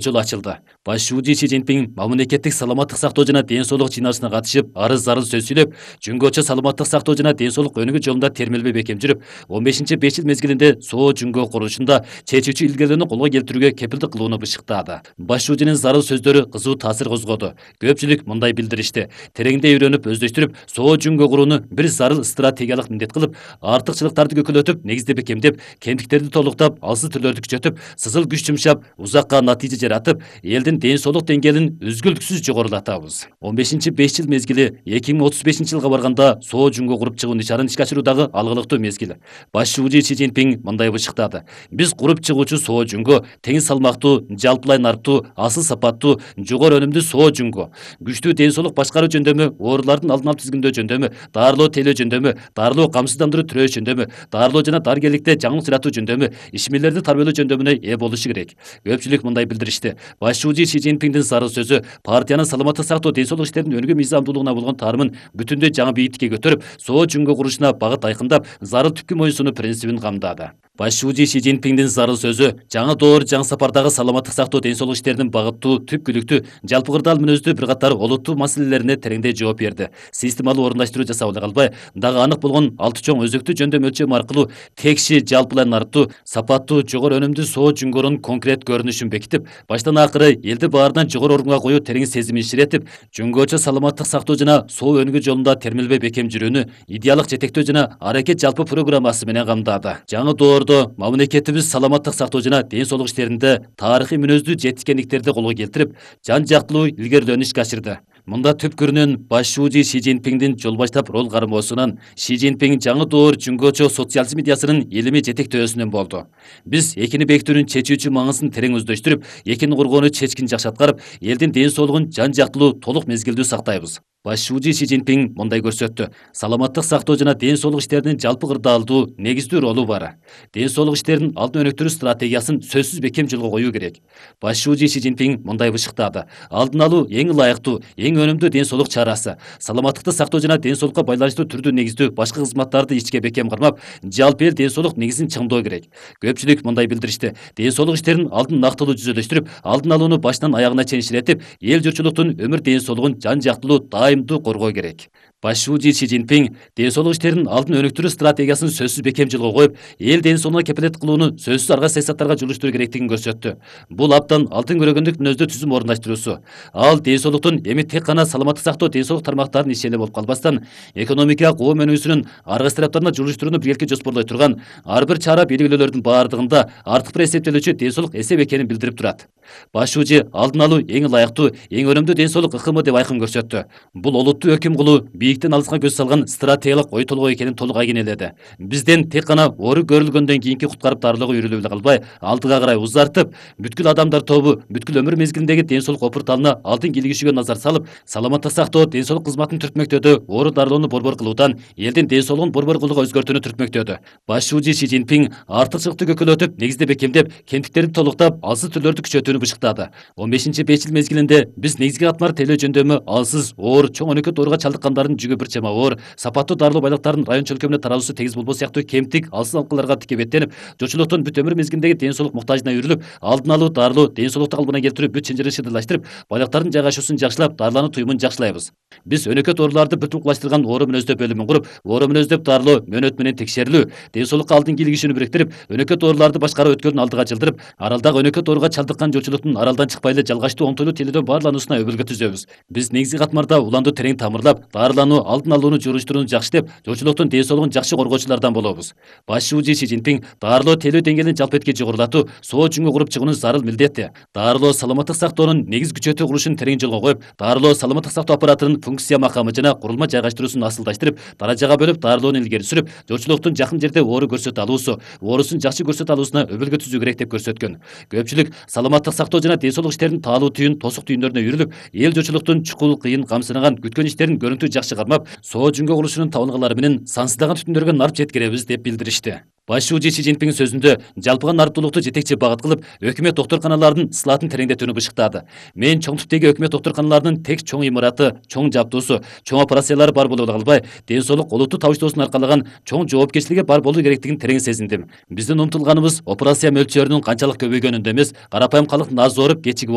жол ачылды. Баш шүүжү Си Цзиньпин мамлекеттик саламаттык сактоо жана ден соолук жыйналышына катышып, арыз зарыл сөз сүйлөп, Жүнгөчө саламаттык сактоо жана ден соолук өнүгүү жолунда термелбей бекем жүрүп, 15-5 жыл мезгилинде Соо Жүнгө курулушунда чечүүчү илгерүүлөрүнү колго келтирүүгө кепилдик кылууну бышыктады. Баш шүүжүнүн зарыл сөздөрү кызуу таасир козгоду. Көпчүлүк мындай билдиришти: тереңдей үйрөнүп, өздөштүрүп, Соо Жүнгө курууну бир зарыл стратегиялык милдет кылып, артыкчылыктарды көкөлөтүп, негизди бекемдеп, кемтиктерди толуктап, алсыз түрлөрдү күчөтүп, сызыл күч жумшап, узакка натыйжа жаратып, элдин ден соолук деңгээлин үзгүлтүксүз жогорулатабыз. 15-5 жыл мезгили 2035 жылга барганда Соо Жүнгө куруп чыгуу нишанын ишке ашыруудагы алгылыктуу мезгил. Баш шүүжү Си Цзиньпин мындай бышыктады: биз куруп чыгуучу Соо Жүнгө тең салмактуу, жалпылай нарктуу, асыл сапаттуу, жогору өнүмдүү Соо Жүнгө, күчтүү ден соолук башкаруу жөндөмү, оорулардын алдын алып тизгиндөө жөндөмү, дарылоо тейлөө жөндөмү, дарылоо камсыздандыруу төрөө жөндөмү, дарылоо жана дарыгерликте жаңылык жаратуу жөндөмү, ишмерлерди тарбиялоо жөндөмүнө ээ болушу керек. Көпчүлүк мындай билдиришти: баш шүүжү Си Цзиньпиндин зарыл сөзү партиянын саламаттык сактоо, ден соолук иштеринин өнүгүү мыйзамдуулугуна болгон таарымын бүтүндөй жаңы бийиктикке көтөрүп, Соо Жүнгө курулушуна багыт айкындап, зарыл түпкү моюнсунуу принцибин камдады. Баш шүүжү Си Цзиньпиндин зарыл сөзү жаңы доор, жаңы сапардагы саламаттык сактоо, ден соолук иштеринин багыттуу, түпкүлүктүү, жалпы кырдаал мүнөздүү бир катар олуттуу маселелерине тереңдей жооп берди. Системалуу орундаштыруу жасап эле калбай, дагы анык болгон 6 чоң өзөктүү жөндөм өлчөм аркылуу текши, жалпылай нарктуу, сапаттуу, жогору өнүмдүү Соо Жүнгөнүн конкрет көрүнүшүн бекитип, баштан акыры элди баарынан жогору орунга коюу терең сезимин иширетип, Жүнгөчө саламаттык сактоо жана соо өнүгүү жолунда термелбей бекем жүрүүнү идеалдык жетектөө жана аракет жалпы программасы менен камдады. Жаңы доордо мамлекетибиз саламаттык сактоо жана ден соолук иштеринде тарыхый мүнөздүү жетишкендиктерди колго келтирип, жан жактылуу илгерилөөнү ишке ашырды. Мында түпкүрүнөн баш шүүжү Си Цзиньпиндин жол баштап рол кармоосунан Си Цзиньпин жаңы доор Жүнгөчө социализм идеясынын илимий жетектөөсүнөн болду. Биз экини бекитүүнүн чечүүчү маңызын терең өздөштүрүп, экини коргоону чечкин жакшы аткарып, элдин ден соолугун жан жактылуу, толук мезгилдүү сактайбыз. Баш шүүжү Си Цзиньпин мындай көрсөттү: саламаттык сактоо жана ден соолук иштеринин жалпы кырдаалдуу, негиздүү ролу бар. Ден соолук иштерин алдын өнүктүрүү стратегиясын сөзсүз бекем жолго коюу керек. Баш шүүжү Си Цзиньпин мындай бышыктады: алдын алуу эң ылайыктуу, эң өнүмдүү ден соолук чарасы. Саламаттыкты сактоо жана ден соолукка байланыштуу түрдүү негиздүү башка кызматтарды ичке бекем кармап, жалпы эл ден соолук негизин чыңдоо керек. Көпчүлүк мындай билдиришти: ден соолук иштерин алдын нактылуу жүзөлөштүрүп, алдын алууну баштан аягына чейин иштетип, эл журтчулуктун өмүр ден соолугун жан жактылуу, дайымдуу коргоо керек. Баш шүүжү Си Цзиньпин ден соолук иштерин алдын өнүктүрүү стратегиясын сөзсүз бекем жолго коюп, эл ден соолугуна кепилет кылууну сөзсүз арга саясаттарга жолуштуруу керектигин көрсөттү. Бул абдан алтын көрөгөндүк мүнөздүү түзүм орундаштыруусу. Ал ден соолуктун эми тек гана саламаттык сактоо, ден соолук тармактарынын иши эле болуп калбастан, экономикага коом өнүгүүсүнүн арга тараптарына жолуштурууну биргеликке жоспорлой турган ар бир чара белгилөөлөрдүн баардыгында артык бир эсептелүүчү ден соолук эсеп экенин билдирип турат. Баш шүүжү алдын алуу эң ылайыктуу, эң өнүмдүү ден соолук ыкымы деп айкын көрсөттү. Бул олуттуу өкүм кылуу, бийиктен алыска көз салган стратегиялык ой толгой экенин толук айгинеледи. Бизден тек гана оору көрүлгөндөн кийинки куткарып дарылоого үйрөлүп эле калбай, алдыга карай узартып, бүткүл адамдар тобу, бүткүл өмүр мезгилиндеги ден соолук опурталына алдын кийлигишүүгө назар салып, саламаттык сактоо, ден соолук кызматын түртмөктөөдө оору дарылоону борбор кылуудан элдин ден соолугун борбор кылууга өзгөртүүнү түртмөктөөдө. Баш шүүжү Си Цзиньпин артыкчылыкты көкөлөтүп, негизди бекемдеп, кемтиктерди толуктап, алсыз түрлөрдү күчөтүүнү бышыктады. 15-5 жыл мезгилинде биз негизги катмар тейлөө жөндөмү алсыз, оор, чоң өнөкөт ооруга чалдыккандардын жүгү бир чама оор, сапаттуу дарылоо байлыктарынын район чөлкөмүнө тараруусу тегиз болбоо сыяктуу кемтик, алсыз алкааларга тикке беттенип, журтчулуктун бүт өмүр мезгилиндеги ден соолук муктажына үйрүлүп, алдын алуу, дарылоо, ден соолукту калыбына келтирүү бүт чынжырын шыдырлаштырып, байлыктардын жайгашуусун жакшылап, дарылануу туюмун жакшылайбыз. Биз өнөкөт ооруларды бир тукулаштырган оору мүнөздөп бөлүмүн куруп, оору мүнөздөп дарылоо, мөөнөт менен текшерилүү, ден соолукка алдын кийлигишүүнү бириктирип, өнөкөт ооруларды башкаруу өткөлүн алдыга жылдырып, аралдагы өнөкөт ооруга чалдыккан журтчулуктун аралдан чыкпай эле жалгачтуу оңтойлуу тейлөөдөн баарлануусуна өбөлгө түзөбүз. Биз негизги катмарда уланду терең тамырлап, дарылануу, алдын алууну журуштурууну жакшытып, журтчулуктун ден соолугун жакшы коргоочулардан болобуз. Баш шүүжү Си Цзиньпин дарылоо тейлөө деңгээлин жалпы этке жогорулатуу, Соо Жүнгө куруп чыгуунун зарыл милдети. Дарылоо саламаттык сактоонун негиз күчөтүү курулушун терең жолго коюп, дарылоо саламаттык сактоо аппаратынын функция макамы жана курулма жайгаштыруусун асылдаштырып, даражага бөлүп дарылоону илгери сүрүп, журтчулуктун жакын жерде оору көрсөтө алуусу, оорусун жакшы көрсөтө алуусуна өбөлгө түзүү керек деп көрсөткөн. Көпчүлүк саламаттык сактоо жана ден соолук иштеринин таалуу түйүн, тосук түйүндөрүнө үйрүлүп, эл журтчулуктун чукул, кыйын, камсынаган, күткөн иштерин көрүнтү жакшы кармап, Соо Жүнгө курулушунун табынгалары менен сансыздаган түтүндөргө нарп жеткиребиз деп билдиришти. Баш шүүжү Си Цзиньпин сөзүндө жалпыга нарптуулукту жетекчи багыт кылып, өкмөт доктурканаларынын ысылатын тереңдетүүнү бышыктады. Мен чоң типтеги өкмөт доктурканаларынын тек чоң имараты, чоң жабдуусу, чоң операциялары бар болуп калбай, ден соолук олуттуу табыштоосун аркалаган чоң жоопкерчилиги бар болуу керектигин терең сезиндим. Биздин умтулганыбыз операция мөлчөрүнүн канчалык көбөйгөнүндө эмес, карапайым калктын аз ооруп, кечигип